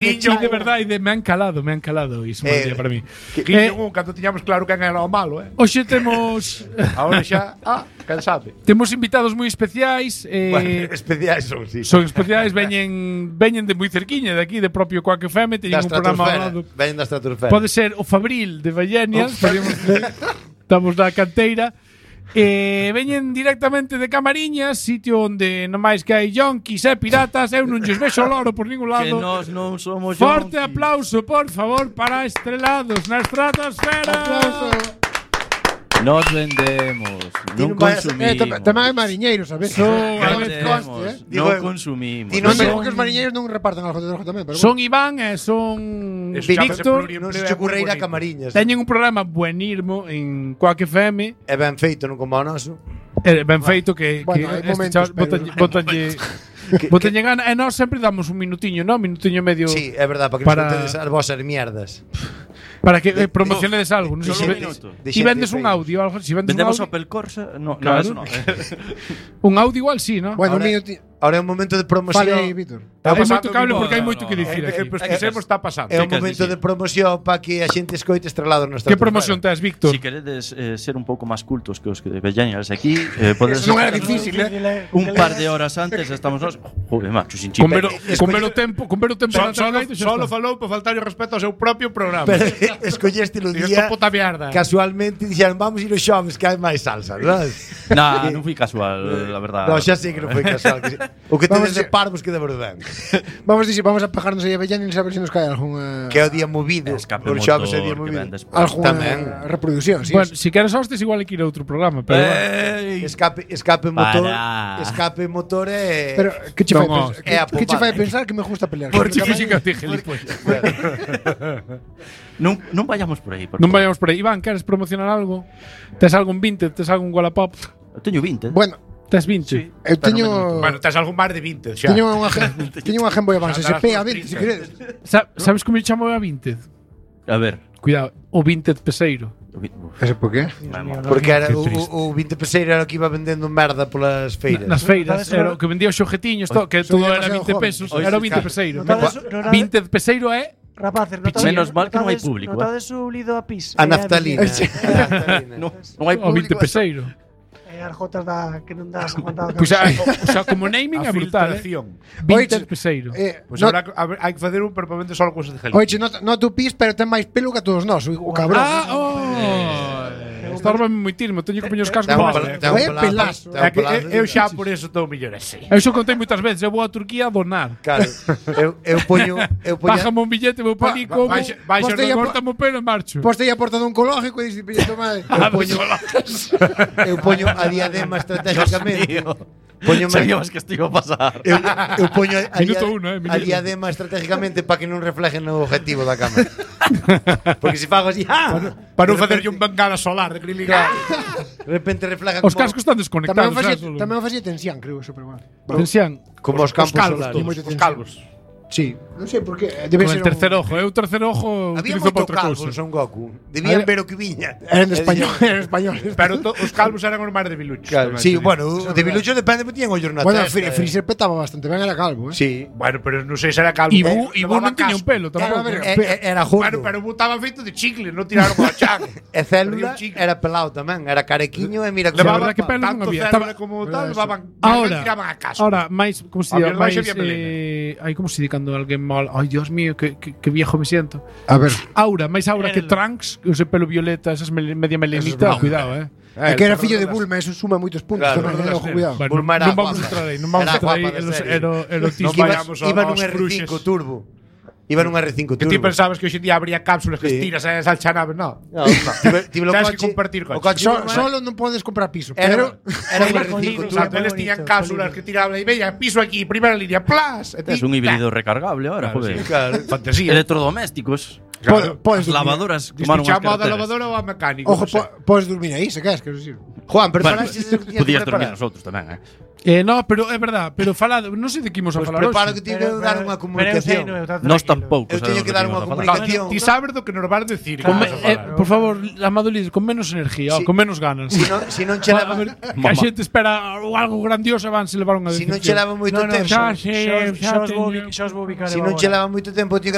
Guiño, de verdade, me han calado iso día para mí. Guiño, cando tiñamos claro quen era o malo, Hoxe temos Ahora xa, cansade. temos invitados moi especiais, Bueno, especiais son, sí. son especiais, veñen de moi cerquiña de aquí, de propio Quack FM, teñen un programa ao lado. Veñen da estratosfera. Pode ser o Fabril de Vallenias, estamos na canteira. Veñen directamente de Camariñas, sitio onde nomais que hai yonkis e piratas. Eu non lles vexo loro por ningún lado. Que nós non somos Forte yonkis. aplauso, por favor, para Estrelados na estratosfera. Aplauso. Nos vendemos, non consumimos. Tamén hai mariñeiros, sabes? Vendemos, non consumimos. Non digo que os mariñeiros non reparten algo de droga tamén, pero Son Iván e son Víctor. Non se che ocurre ir a Camariñas. Teñen un programa buenirmo en Quack FM. É ben feito, non como o noso. Ben feito que Bueno, hai este momentos, chaval pero- botalle gana. E nós sempre damos un minutiño, non? Minutiño e medio. Sí, é verdade, para que Para- nos contedes as vosas mierdas. Para que promocionedes algo. Non sei Solo se un minuto. Si vendes un audio, algo, si vendes un Vendemos audio, Opel Corsa? No, Claro. eso no. un audio igual sí, ¿no? Bueno, Ahora- un minuto. Ahora é un momento de promoción. Fale aí, Víctor. Hai pasando moito cable un porque hai minuto. moito que dicir aquí. Pois que que está pasando. Que É un queres momento dicir? de promoción para que a xente escoite Estrelados na Que estratosfera. promoción tes, Víctor? Si queredes ser un pouco máis cultos que os que de Vellanias aquí, podes Eso non era difícil, un par de horas antes estamos nós. Joder, macho, sin chip. Con ver o tempo na Antonio, Solo falou para faltar o respeto ao seu propio programa. Pero escolleste o Digo, día puta mierda. casualmente dixeron vamos ir os xoves que hai máis salsa, sabes? Nah, non fui casual, la verdad. No, xa sei que non foi casual. O que Vamos tedes de a- parvos que de verdade. Vamos a pegarnos aí a Bellanin a ver se nos cae algunha Que é o día movido. Escape Os xoves é o día motor que movido. ven despois. Tamén. reproducción, sí. Bueno, si queres hostes igual hai que ir a outro programa, pero Ey. Escape motor. Para. Escape motor é Pero que che fai Non, pensar? é a Que che pomada. fai pensar que me gusta pelear? Porque Porque física te gilipollas. Non vayamos por aí, por Non favor. vayamos por aí. Iván, queres promocionar algo? Tes algún 20? Tes algún Wallapop? Eu teño 20. Bueno, Tes 20? Sí. eu teño tes algún mar de 20 xa. teño unha Game Boy Advance SP a 20, se queredes. Sabes como me chamo a 20? A ver. Cuidado, o 20 peseiro. Ese por qué? Porque era Qué o, triste. o 20 peseiro era o que iba vendendo merda polas feiras. Nas feiras, era o que vendía os xojetiños, que Soy todo era demasiado 20 joven. pesos, Hoy era o sí, 20 claro. peseiro. Notades- 20 peseiro é Rapaces, Menos mal que non hai público, Notades o lido a pis. A naftalina. Non hai o 20 público. peseiro. As jotas que non das contado. Pois o sea, como naming é brutal, eh? 20 peseiro. Pois habrá hai que facer un permanente solo cosas de gel. Oye, no tu pis, pero ten máis pelo que a todos nós, o cabrón. Estárbame moi tirmo, teño que poñer os cascos. Pelazo. Eu xa por eso estou mellor así. Eu xo contei moitas veces, eu vou a Turquía a donar. Claro. Eu poño Bájame un billete, vou pa ali como Vais Bájame o pelo e marcho. Poste aí a porta dun oncológico e dices, toma. eu poño a diadema estratégicamente. Sabíamos que isto iba a pasar. Eu poño a minuto. diadema estratégicamente para que non refleje no objetivo da cámara. Porque se fago así, para non facerlle un bengala solar de acrílico. De repente refleja Os cascos están desconectados. Tamén o facía tensión, creo, eso, pero bueno. Tensión. como os campos solares. Os calvos. Sí, non sei por qué. Debe Con ser el tercer ojo. Eu o tercer ojo Había utilizo para moito outra calvos cousa. Son Goku. Debían ver o que viña. Eran españoles. Pero os calvos eran os máis debiluchos. Claro, sí, bueno, o debilucho depende, porque tiñan ollos na Bueno, testa. Freezer petaba bastante ben, era calvo, eh. Sí, bueno, pero non sei se era calvo. Ibu non tiña un pelo tampouco. Era gordo. Bueno, pero botaba feito de chicle, non tiraron con a chan. E célula era pelado tamén, era carequiño e mira Levaba que pelo non había. Célula como tal, levaban tiraban a casa. Ahora, máis, como se Había diga, máis máis había melena. ai, como se di cando alguén mal. Ai, Dios mío, que viejo me siento. A ver. Aura, máis aura que Trunks, que use pelo violeta, esas media melenita, cuidado, É que era fillo de Bulma, eso suma moitos puntos tamén, ojo, cuidado. Bueno, Bulma era non vamos a guapa. entrar aí, non vamos a entrar aí erotismo. Iba nun R5 turbo. Iba nun R5 turbo. Que ti pensabas que hoxe en día habría cápsulas que estiras e salchanaves, no. Tive Tens que compartir coche. Solo non podes comprar piso, Era pero un R5 turbo. Eles tiñan cápsulas que tiraban e veía piso aquí, primeira línea, plas. Es un híbrido recargable ahora, joder. Claro. Fantasía. Electrodomésticos. podes As lavadoras tomaron as Dispixamos da carreteras. lavadora ou a mecánico. Ojo, podes dormir aí, se queres, quero dicir. Juan, pero Bueno, falaste de que tiñas podías que dormir preparar. nosotros tamén, No, pero é verdad, pero falado, non sei de que imos a Pois falar preparo hoxe. que teño que dar unha comunicación. Nós tampouco. Eu teño que dar unha comunicación. Ti sabes do que nos vas decir. Con que vas a falar. por favor, Amado Liz, con menos energía, Sí. con menos ganas. Si non che A leva, ver, que a xente espera algo grandioso e van se levar unha si non decepción. che leva moito tempo, xa, xa, Xa os vou ubicar. si non che leva moito tempo, tío,